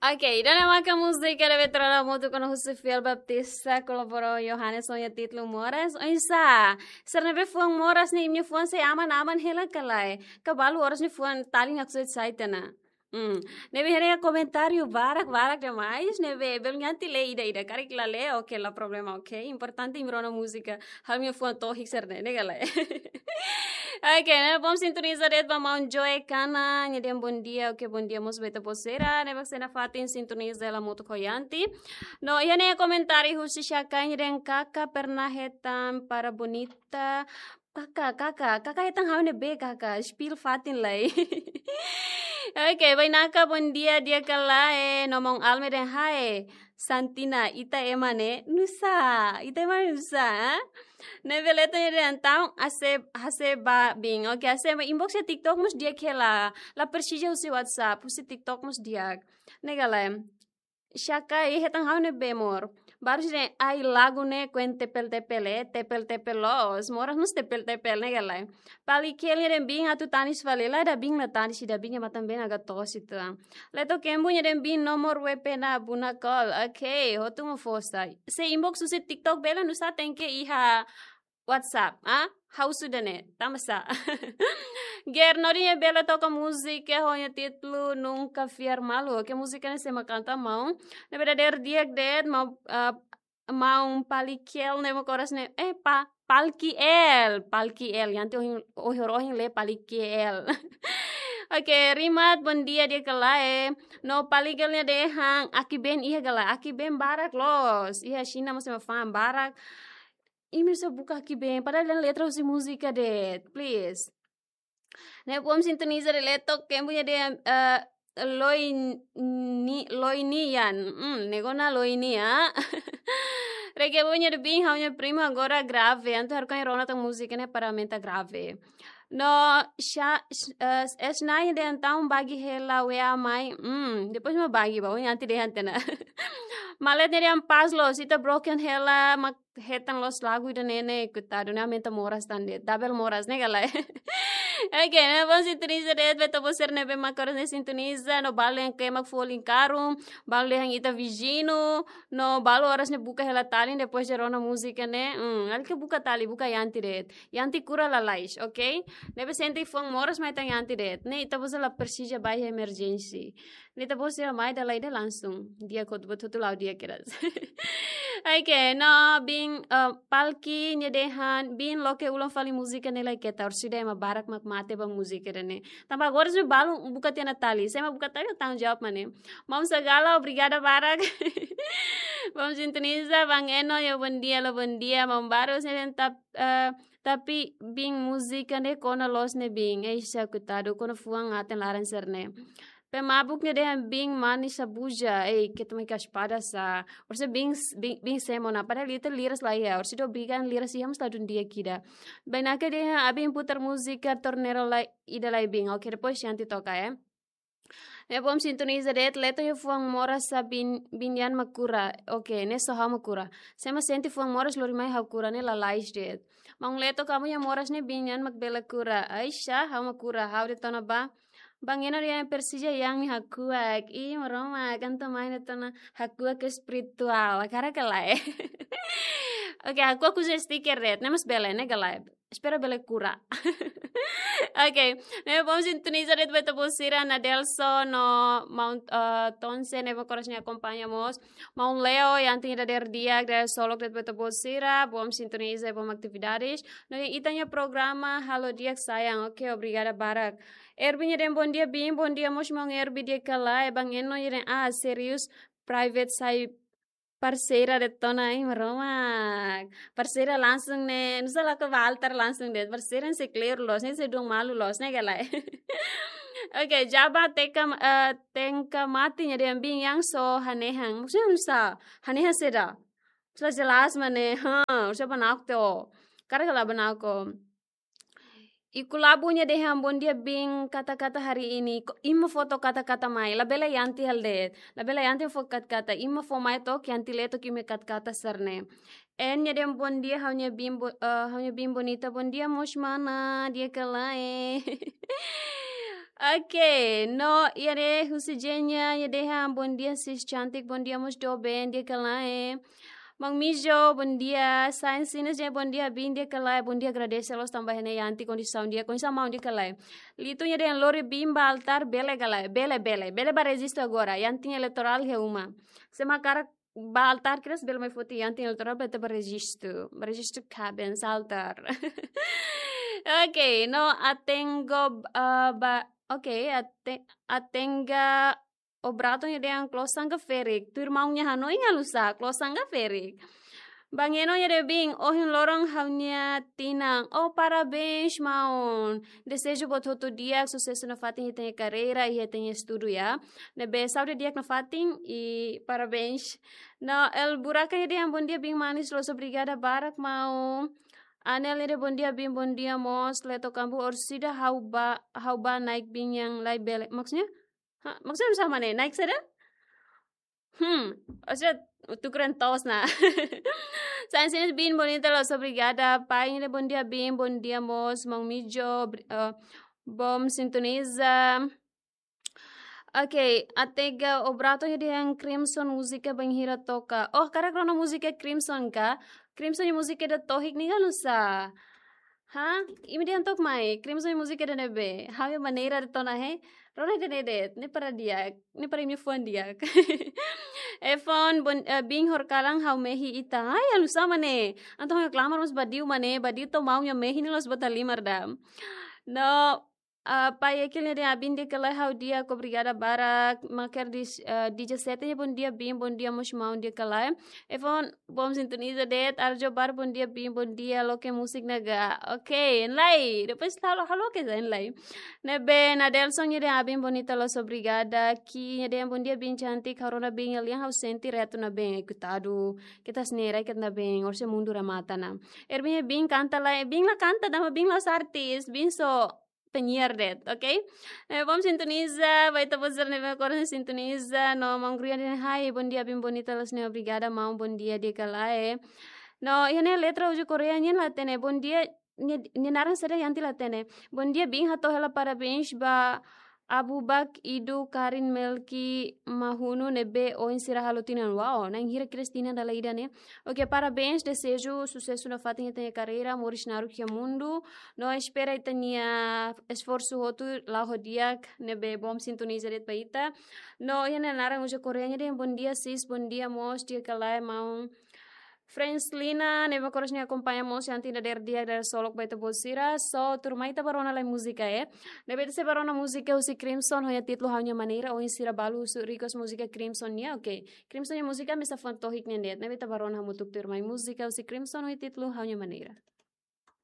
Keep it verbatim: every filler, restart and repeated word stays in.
Ok, ida-ne'e maka múzika ne'ebé trana motu kona husi Fiel Baptista, kolabora Yohanes ho nia títulu Moras. Oinsá, sira ne'ebé fuan moras ne'e, imi-nia fuan sei aman-aman hela ka lae? Ka balu oras ne'e fuan talin haksoit sai tiha ona? Hmm. Ne'ebé haree komentáriu barak-barak demais, ne'ebé belun Yanti lee ida-ida, karik la lee, ok, la problema, ok. Importante imi rona múzika, ha'u-nia fuan tohik sira-ne'e, ne'e ka lae? Ok, ne'e bom sintoniza de'it ba maun Joe Kana, nia dehan bom dia, ok, bom dia mós ba ita-boot sira, ne'ebé sei nafatin sintoniza hela motu ho Yanti. No, iha ne'e komentáriu husi Shaka, nia dehan kaka pernah hetan para bonita, kaka, kaka, kaka hetan ha'u ne'ebé kaka, spill fatin lai. Ok, bainaka bom dia, di'ak ka lae, no maun Alme dehan hae, Santina, ita ema ne'e nusá, ita ema ne'e nusá, ha? Ne'ebé Leto nia dehan entaun, hase, hase ba biin. Ok, hase ba inbox iha TikTok mós di'ak hela. La presiza husi WhatsApp, husi TikTok mós di'ak. Ne'e ka lae? Shaka, iha hetan ha'u ne'ebé mor. Baru sira dehan ai lagu ne'e koen tepel-tepel, eh, tepel-tepel loos. Moras mós tepel-tepel, ne'e ka lae? Palikel nia dehan biin atu tanis fali, la ida biin la tanis, ida biin nia matan-been agak toos ituan. Leto Kembu nia dehan biin nomor W P na buna call. Ok, hotu mak fó sai. Se inbox husi TikTok bele, nusá tenke iha WhatsApp, ah? Ha'u husu ida-ne'e, tanba sá? Ger Nodi nia bele toka múzika ho nia títulu Nunca Fiar Malu. Ok, múzika ne'e sé mak kanta maun? Ne'ebé dadeer di'ak de'it, maun, ah, maun Palikel ne'e mak koras ne'e, eh, pa, Palkiel, Palkiel. Yanti ohin, ohin, ohin lee Palikel. Ok, Rimat, bom dia, di'ak ka lae? No Palikel nia dehan, Akibeen iha ka lae? Akibeen barak loos. Iha Xina mós ema fa'an barak. Imi só buka Akibeen, padahal dehan letra husi múzika de'it, please. Ne'e bom sintoniza de'it Leto Kembu nia dehan, eh, Loini, Loinian. Hmm, ne'e kona Loini, ah. Rekebun nia dehan biin ha'u-nia prima agora grave. Entaun ha'u hakarak rona tan múzika ne'e para aumenta grave. No, sha, sh-, eh, S nine nia dehan entaun bagi hela W A mai. Hmm, depois mak bagi ba, ohin Yanti dehan tiha ona. Malet nia dehan paz loos, ita broken hela, mak hetan loos lagu ida-ne'e ne'e, koitadu, ne'e aumenta moras tan de'it, double moras, ne'e ka lae? Ok, ne'e bom sintoniza de'it ba ita-boot sira ne'ebé mak koras ne'e sintoniza, no balu dehan ke mak folin karun, balu dehan ita viziñu, no balu oras ne'e buka hela talin, depois de rona múzika ne'e, hmm, alke buka talin, buka Yanti de'it. Yanti kura lalais, ok? Ne'ebé sente fuan moras mai hetan Yanti de'it. Ne'e ita-boot sira la presiza bá iha emerjénsia. Ne'e ita-boot sira mai dala ida langsung. Di'ak hotu-hotu, la'o di'ak kedas. Ok, no biin, eh, Palki nia dehan, biin loke ulang fali múzika ne'e lai keta, orsida ema barak mak mate ba múzika ida-ne'e. Tanba agora se balu buka tiha ona talin, se ema buka talin tanggung jawab mana. Maun Sagala, obrigada barak. Bom sintoniza, Bang Eno, yo bom dia, lo bom dia, maun baru, se tap, eh, tapi biin múzika ne'e kona loos ne'e biin, eixa koitadu, kona fuan aten laran sira-ne'e. Pemabuk nia dehan biin manis sabuja, ei, keta mai ka espada sá. Orsida biin, biin, biin semo na, padahal ita liras la iha, orsida obriga liras iha mós la dún di'ak ida. Bainaka dehan, abin putar múzika torneira lai, ida lai biin. Ok, depois Yanti toka, eh. Ne'e bom sintoniza de'it, Leto nia fuan moras sá biin, biin nian mak kura. Ok, ne'e só ha'u mak kura. Se ema sente fuan moras lori mai ha'u kura, ne'e lalais de'it. Maun Leto, kamu nia moras ne'e biin nian mak bele kura. Aixa, ha'u mak kura, ha'u de'it ona ba. Bang Eno dehan presiza Yang nia hakuak. Ih, Maromak, entaun mai de'it ona hakuak espirituál. Hakarak ka lae? Ok, hakuak husi stiker de'it, ne'e mós bele, ne'e ka lae? Espera bele kura. Ok, ne'e bom sintoniza de'it ba ita-boot sira, Nadelson no maun, eh, Tonse ne'ebé koras ne'e akompaña mós. Maun Leo, Yanti nia dadeer di'ak, dadeer solok de'it ba ita-boot sira, bom sintoniza, bom atividades. No iha ita-nia programa, halo di'ak sayang, ok, obrigada barak. Erbi nia dehan bom dia, biin, bom dia, mós maun Erbi, di'ak ka lae, Bang Eno nia dehan, ah, serius, private sai parseira de'it ona, ai, Maromak. Parseira langsung ne'e, nusá lakohi ba altar langsung de'it. Parseira ne'e sei kle'ur loos, ne'e sei duan malu loos, ne'e ka lae? Ok, Jaba Teka, eh, Tengka Mati nia dehan biin Yang só hanehan. Maksudnya nusá, hanehan saida? Nusá jelas mana, ha, nusá banako tiha ó. Hakarak ka lae banako. Iku Labu nia dehan bom dia biin, kata-kata hari ini. Ko-, imi mak fó took kata-kata mai. Labele Yanti halo de'it. Labele Yanti fó kata-kata. Imi mak fó mai took, Yanti lee took imi-nia kata-kata sira-ne'e. En nia dehan bom dia, ha'u-nia biin bo-, eh, ha'u-nia biin bonita. Bom dia, mós mana, di'ak ka lae? Oke, no, iha ne'e husi Jenya, iha dehan, bom dia, sis cantik, bom dia, mós doben, di'ak ka lae. Mang Mijo, bom dia, Sain Sinas, Jenya, bom dia, bin, di'ak ka lae, bom dia, agradese loos tanba iha ne'e Yanti kondisaun di'ak, kondisaun maun, di'ak ka lae. Litu, iha dehan, lori bin ba altár, bele ka lae, bele, bele, bele ba rejistu agora, Yanti nia eleitorál iha uma. Se mak hakarak ba altár kedas, bele mai foti Yanti nia eleitorál, bele ita ba rejistu. Ba rejistu kaben, altár. Oke, no, Atengo, ah, ba, oke, Ate-, Atenga Obrato, iha dehan, klosan ka ferik. Tuir maun nia hanoin, halo nu'usá, klosan ka ferik. Bang Eno, iha dehan, bin, ohin loron ha'u-nia tinan. Oh, parabéns, maun. Dezeju buat hotu di'ak, susesu nafatin iha ita-nia karreira, iha ita-nia estudu, ya. Ne'ebé saúde di'ak nafatin, i parabéns. No, El Buraka, iha dehan, bom dia, bin manis, loos, obrigada barak, maun. Anel, iha dehan, bom dia, bin, bom dia, mós, Leto Kambu, orsida ha'u ba, ha'u ba naik bin yang lai bele. Maksudnya? Ha, maksudnya nu'usá mak ne'e? Naik saida? Hmm, orsida tukuran toos ona. Sain Sinas, bin, bonita, loos, obrigada. Pai, iha dehan, bom dia, bin, bom dia, mós, Mang Mijo, bri-, eh, bom sintoniza. Oke, Atenga Obrato, iha dehan, Crimson, múzika bainhira toka. Oh, hakarak rona múzika Crimson ka? Crimson nia múzika ida tohik ne'e halo nu'usá? Ha? Imi dehan took mai, Crimson nia múzika ida ne'ebé? Ha'u-nia maneira de'it ona, he? Rona ida ne'e de'it, ne'e para di'ak, ne'e para imi fuan di'ak. Efon, bon, eh, bin, horikalan ha'u mehi ita. Ai, halo nu'usá mak ne'e? Entaun ha'u klamar mós badiu mak ne'e, badiu to'o maun nia mehi ne'e loos bota limar da. No, ah, Pai Ekil, iha dehan, bin, di'ak ka lae, ha'u di'ak, obrigada barak. Maker di, eh, dezassete, iha dehan, bom dia, bin, bom dia, mós maun, di'ak ka lae. Efon, bom sintoniza de'it. Arjo Bar, bom dia, bin, bom dia, loke musik ne'e ka. Oke, hein lai. Depois halo, halo ke, hein lai. Ne'ebé Nadelson, iha dehan, bin, bonita, loos, obrigada. Ki, iha dehan, bom dia, bin cantik, ha'u rona bin nia lian, ha'u sente retu ona bin. Ai, koitadu. Keta hanesan ne'e, rai keta ona bin, orsida mundu remata ona. Ervin, bin kanta lai, bin la kanta, tanba bin la'ós artis, bin só penyiar de'it, oke? Eh, bom sintoniza, ba ita-boot sira ne'ebé agora sintoniza, no Mang Grian dehan, hai, bom dia, bin, bonita, loos, ne'e, obrigada, maun, bom dia, di'ak ka lae. No, iha ne'e letra uza Korea nian la hatene, bom dia, nia, nia naran saida, Yanti la hatene. Bom dia, bin, hato'o hela parabéns ba Abu Bak, Idu, Karin, Melki, Mahunu, ne'ebé oin sira halo tinan. Wow, na'in hira kedas tinan dala ida ne'e. Oke, parabéns, dezeju susesu nafatin iha ita-nia karreira, moris naruk iha mundu. No espera ita-nia esforsu hotu la'o ho di'ak, ne'ebé bom sintoniza de'it ba ita. No iha ne'e naran uza Korea nian dehan, bom dia, sis, bom dia, mós, di'ak ka lae, maun. Friends Lina, ne'ebé agora sei akompaña mós, Yanti nia dadeer di'ak, dadeer solok ba ita-boot sira. So, tuirmai ita bá rona lai múzika, eh. Ne'ebé ita sei bá rona múzika husi Crimson, ho nia títulu Ha'u-nia Maneira, oin sira balu husu request múzika Crimson nian, oke. Crimson nia múzika mesak fuan tohik nian de'it. Ne'ebé ita bá rona hamutuk tuirmai múzika husi Crimson, ho nia títulu Ha'u-nia Maneira.